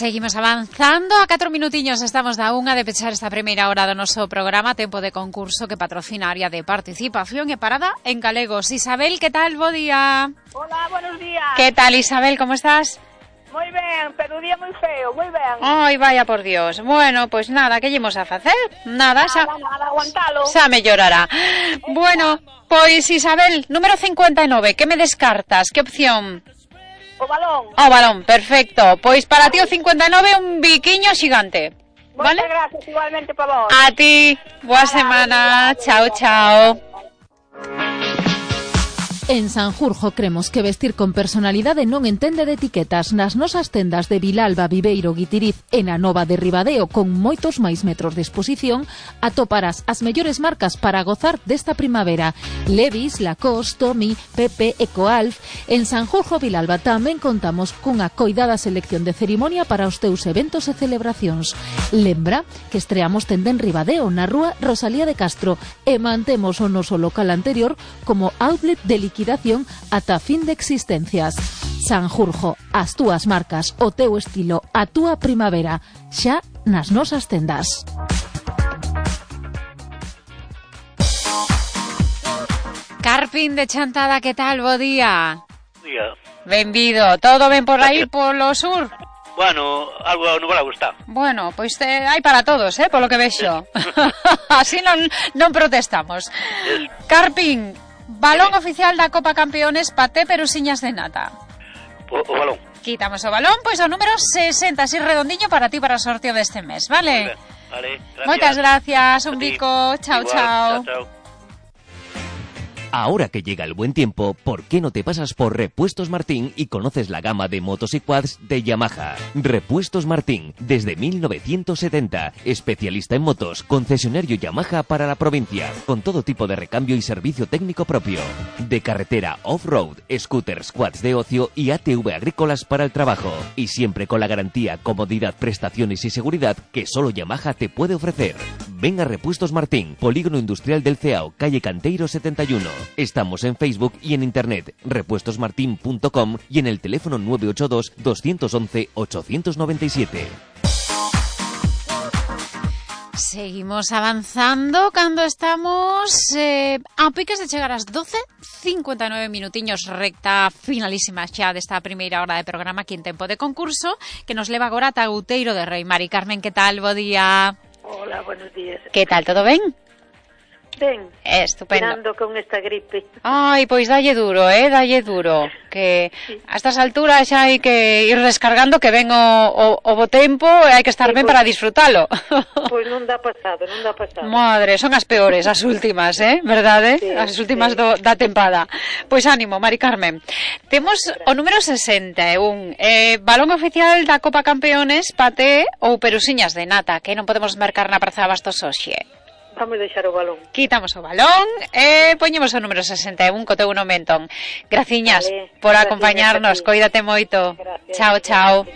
Seguimos avanzando, a 4 minutiños estamos da unha de pechar esta primeira hora do noso programa Tempo de Concurso que patrocina área de participación e parada en galegos. Isabel, que tal? Bo día. Hola, buenos días. Que tal, Isabel, como estás? Moi ben, pero o día moi feo, moi ben. Ai, vaya por Dios. Bueno, pues nada, que llevamos a facer? Nada, nada, aguantalo. Xa mellorará. Bueno, pois Isabel, número 59, que me descartas? Que opción? O balón. O balón, perfecto. Pois para ti o 59 un biquiño xigante. ¿Vale? Moitas gracias, igualmente para vos. A ti, boa semana. Chao, chao. En Sanjurjo cremos que vestir con personalidade non entende de etiquetas. Nas nosas tendas de Vilalba, Viveiro, Guitiriz e na Nova de Ribadeo, con moitos máis metros de exposición, atoparás as mellores marcas para gozar desta primavera. Levi's, Lacoste, Tommy, Pepe, Ecoalf. En Sanjurjo, Vilalba, tamén contamos cunha coidada selección de cerimonia para os teus eventos e celebracións. Lembra que estreamos tenda en Ribadeo, na rúa Rosalía de Castro, e mantemos o noso local anterior como outlet de liquidación ata fin de existencias. Sanjurjo, as túas marcas, o teu estilo, a túa primavera, xa nas nosas tendas. Carpín de Chantada, que tal? Bo día. Día. Benvido. Todo ben por aí, polo sur? Bueno, algo nublado está. Bueno, pois hai para todos, polo que vexo. Así non protestamos. Carpín, balón oficial da Copa Campeones, paté perusiñas de nata. O balón. Quitamos o balón, pois o número 60, así redondiño para ti para o sorteo deste mes, vale? Vale, gracias. Moitas gracias, un bico, chao, Igual, chao. Chao. Ahora que llega el buen tiempo, ¿por qué no te pasas por Repuestos Martín y conoces la gama de motos y quads de Yamaha? Repuestos Martín, desde 1970, especialista en motos, concesionario Yamaha para la provincia, con todo tipo de recambio y servicio técnico propio. De carretera off-road, scooters, quads de ocio y ATV agrícolas para el trabajo. Y siempre con la garantía, comodidad, prestaciones y seguridad que solo Yamaha te puede ofrecer. Ven a Repuestos Martín, Polígono Industrial del Ceao, calle Canteiro 71. Estamos en Facebook y en internet, repuestosmartin.com y en el teléfono 982 211 897. Seguimos avanzando cando estamos a piques de chegar ás 12:59 minutiños, recta finalísima xa desta primeira hora de programa aquí en Tempo de Concurso, que nos leva agora ata Outeiro de Rei. Mari Carmen, que tal? Bo día. Hola, buenos días. Que tal, todo ben? Ben, estupendo. tirando con esta gripe. Ai, pois dalle duro, dalle duro. Que a estas alturas xa hai que ir descargando, que ven o bo tempo e hai que estar ben para disfrutalo. Pois non dá pasado. Madre, son as peores, as últimas, verdade? Sí, as últimas da tempada. Pois ánimo, Mari Carmen. Temos o número 61, balón oficial da Copa Campeones, paté ou perusiñas de nata, que non podemos mercar na Praza de Abastos hoxe. Vamos deixar o balón. Quitamos o balón e poñemos o número 61 co teu nome entón. Graciñas por acompañarnos, coídate moito. Gracias. Chao, chao.